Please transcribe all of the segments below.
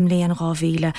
Mbliain 2000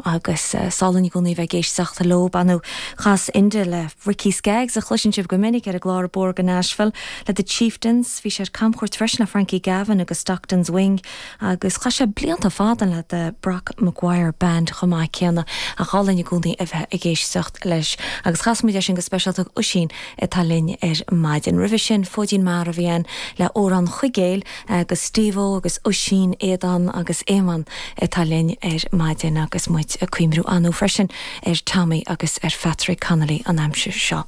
agus is álainn i gcónaí a bheith ag éisteacht leo. Ar ndóigh chas Enda le Ricky Skaggs, a chloiseann sibh go minic ar an gclár Ag Bóthar go Nashville, le The Chieftains, bhí sé ar camchuairt freisin le Frankie Gavin agus Stockton's Wing agus chaith sé blianta fada le The Brock Maguire Band chomh maith céanna. Ach álainn i gcónaí a bheith ag éisteacht leis. Agus chas muid é sin go speisialta d'Oisín atá linn ar maidin. Roimhe sin, Fóidín Mara a bhí ann le Amhrán Chuigéil. Agus Steve-O agus Oisín, Aodán agus Éamonn atá linn ar maidin agus muid ag cuimhniú ar ndóigh freisin ar Tommy agus ar Phatrick Connolly an aimsir seo.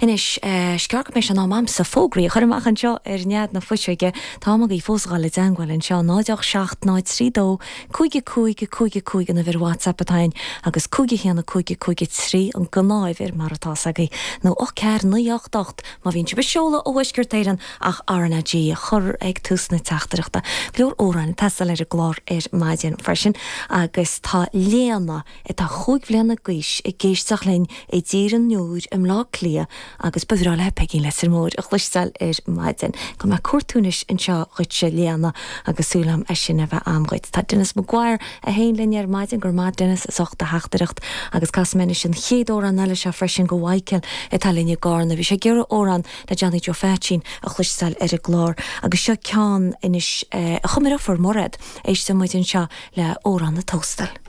Anois, is gearr go mbeidh sé in am a'msa fógraí a chur amach anseo ar nead na fuiseoige. Tá am agaibh fós a dhul i dteangmháil anseo, 0 8 7 0 3 2 5 5 5 5 an uimhir WhatsApp atá ann agus 5 1 5 5 3 an gnáthuimhir mar atá 's agaibh nó 8 4 9 8 8 má bhíonn sibh ag seoladh ó Thuaisceart Éireann ach RnaG a chur ag tús na teachtaireachta. Go leor amhráin ag teastáil ar an gclár ar maidin freisin agus tá Léana atá chúig bhliana d'aois ag éisteacht linn i dTír an Iúir i mBleá Cliath agus ba bhreá léi Peigín Leitir Móir a chloisteáil ar maidin. Gabhfaidh mé ag cuartú anois anseo dhuitse Léana agus súil agam é sin a bheith a'm dhuit. Tá Denis Maguire é féin linn ar maidin, go raibh maith Denis as ucht do theachtaireacht agus casfaidh mé anois an chéad amhrán eile seo freisin go Mhichael atá linn i gCarna. Bhí sé ag iarraidh amhrán le Johnny Joe Pheaitsín a chloisteáil ar an gclár agus seo ceann anois a chum a dheirfiúr Mairéad. Éisteann muid anseo le Amhrán na Tóstail.